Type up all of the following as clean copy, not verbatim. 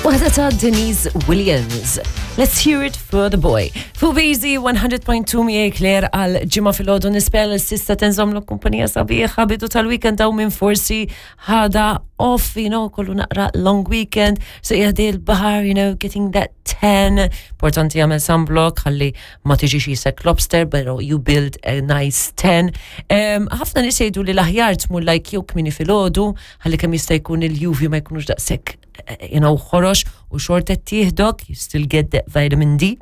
Waħda ta' Denise Williams. Let's hear it for the boy. Fu Busy 100.2 miegħi Claire għal ġimgħa filgħodu nispera li s'issa tinżomm kumpanija sabiħa bidu tal-weekend hawn minn forsi ħada off, you know, kollu naqra long weekend, so jgħaddi l-baħar, you know, getting that tan. Importanti jagħmel sunblock ħalli ma tiġix jisek lobster, pero you build a nice tan. Ħafna nies jgħidu li l-aħjar tmur like jew kmini filgħodu, ħalli kemm jista' jkun il-UV ma jkunux daqshekk eh, you know, ħorox u xorta tieħdok, you still get that vitamin D.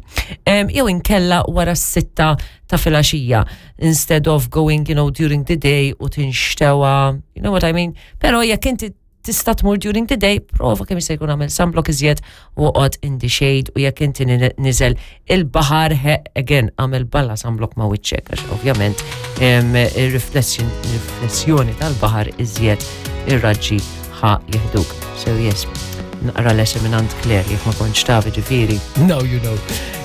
Jew inkella wara s-sitta ta' filgħaxija instead of going, you know, during the day u tinxtewa, you know what I mean? Pero jekk inti tista' tmur during the day, prova kemm jista' jkun għamel sunblock iżjed u oqgħod in the shade u jekk inti niżel il-baħar again għamel balla sunblock ma' wiċċek għax ovvjament ir-riflessjoni tal-baħar iżjed ir-raġġi ħa jihduk. So yes, naqra lesson minn għand Claire jekk ma kontx taf ġifieri. Now you know.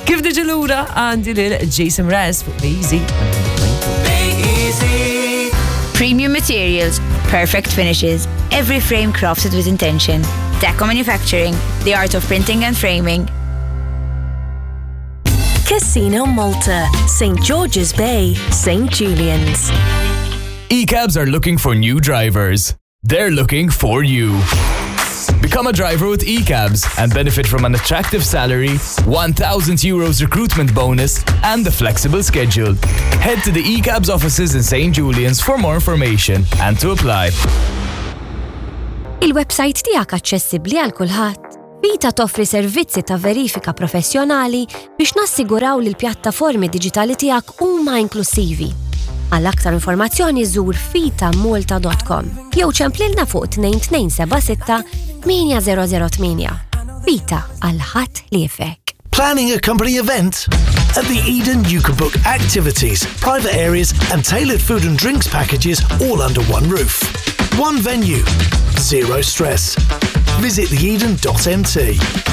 Kif diġi lura għandi lil Jason Mraz fuq Easy 100.2. Premium materials, perfect finishes, every frame crafted with intention. Deco Manufacturing, the art of printing and framing. Casino Malta, St. George's Bay, St. Julian's. E-cabs are looking for new drivers. They're looking for you. Become a driver with eCabs and benefit from an attractive salary, 1,000 euros recruitment bonus, and a flexible schedule. Head to the eCabs offices in St. Julian's for more information and to apply. Il-website tiegħek aċċessibbli għal kulħadd. Vita toffri servizzi ta' verifika professjonali biex nassiguraw li l-pjattaformi diġitali tiegħek huma inklusivi. Għal aktar informazzjoni żur fitamolta.com jew ċemplilna fuq 2276 8008. Vita għal ħadd li jifek. Planning a company event? At the Eden, you can book activities, private areas, and tailored food and drinks packages all under one roof. One venue, zero stress. Visit theeden.mt.